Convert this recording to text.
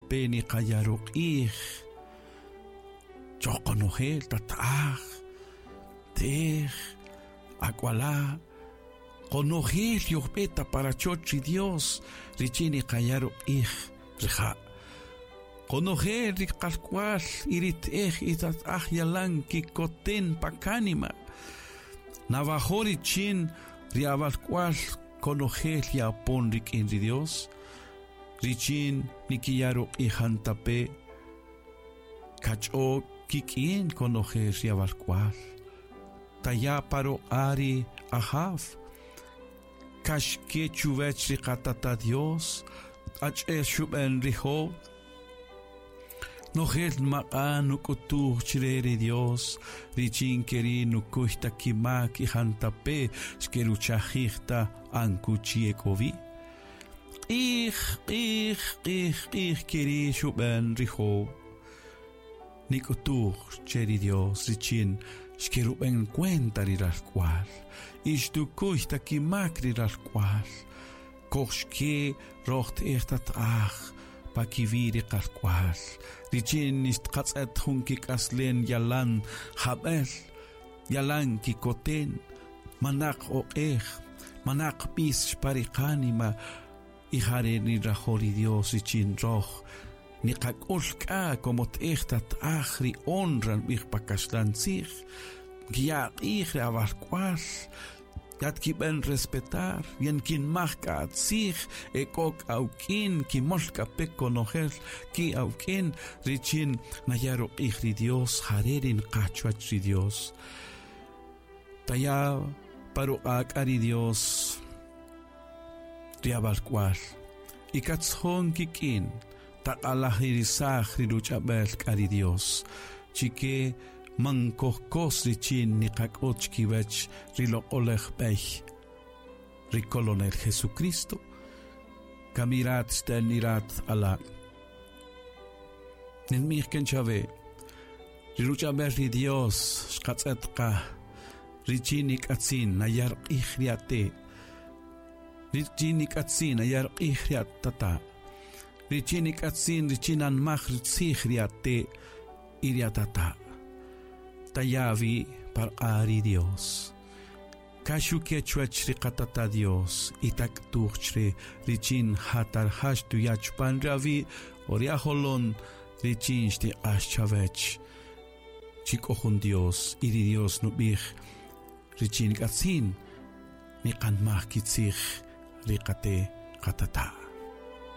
Pe niqaya' ruq'ij choj qonojel tata'aj, te'ej, ak'wala', qonojel yojb'e ta pa rachoch ri Dios richin niqaya' ruq'ij rija'. Qonojel ri qalk'wal y ri te'ej y tata'aj yalan kikoten pa kánima. Nawajo' richin ri awalk'wal konojel ye'apon rik'in ri Dios. Richin nikiya' ruq'ij jantape' kach'o kik'in konojel ri awalk'wal. Taya' pa ruq'a' ri Ajaw, kaxke chuwech ri qatata' Dios, achi'el xub'en ri Job. Nojel nmaq'a' nuk'utuj chre ri Dios richin keri' nukuy ta kimak y jantape' xkeruchajij ta ankuchi ek'o wi'. Q'ij, q'ij, q'ij, q'ij keri' xub'en ri Job. Nik'utuj che ri Dios richin xkerub'en cuenta ri ralk'wal y xtukuy ta kimak ri ralk'wal. Koj xke roj te'ej tata'aj pa kiwi' ri qalk'wal richin xtqatz'et jun kik'aslen yalan jab'el, yalan kikoten, manaq oq'ej, manaq b'is xpa ri qánima y jare' nirajo' ri Dios richin roj niqak'ul k'a como te'ej tata'aj ri honra nb'ij pa kaxlan tzij, nkiya' q'ij ri awalk'wal yatkib'en respetar, yankinmaj k'a atzij, e k'o k'a awk'in, kimol k'a pe konojel ki' awk'in richin naya' ruq'ij ri Dios, jare' ri nqa chuwäch ri Dios. Taya' pa ruq'a' k'a ri Dios ri awalk'wal y katzjon kik'in, taq'alajirisaj ri ruch'ab'el k'a ri Dios chike man kojkos richin niqak'ut chikiwech ri loq'olej b'ey ri Kolonel Jesucristo. Kamirat xten irat ala'. Ninb'ij ken chawe, ri ruch'ab'el ri Dios xqatz'et qa richin nik'atzin naya' ruq'ij ri ate', richin nik'atzin naya' ruq'ij ri atata', richin nik'atzin richin nanmaj rutzij ri ate' y ri atata'. Taya' awi' pa ruq'a' ri Dios. Kaxuke chuwech ri qatata' Dios y tak'tuj chre richin jatarja xtuya' chupan ri awi' o ri ajolon richin xtiq'ax chawech chi k'o jun Dios y ri Dios nub'ij richin nik'atzin niqanmaj kitzij ri qate' qatata'.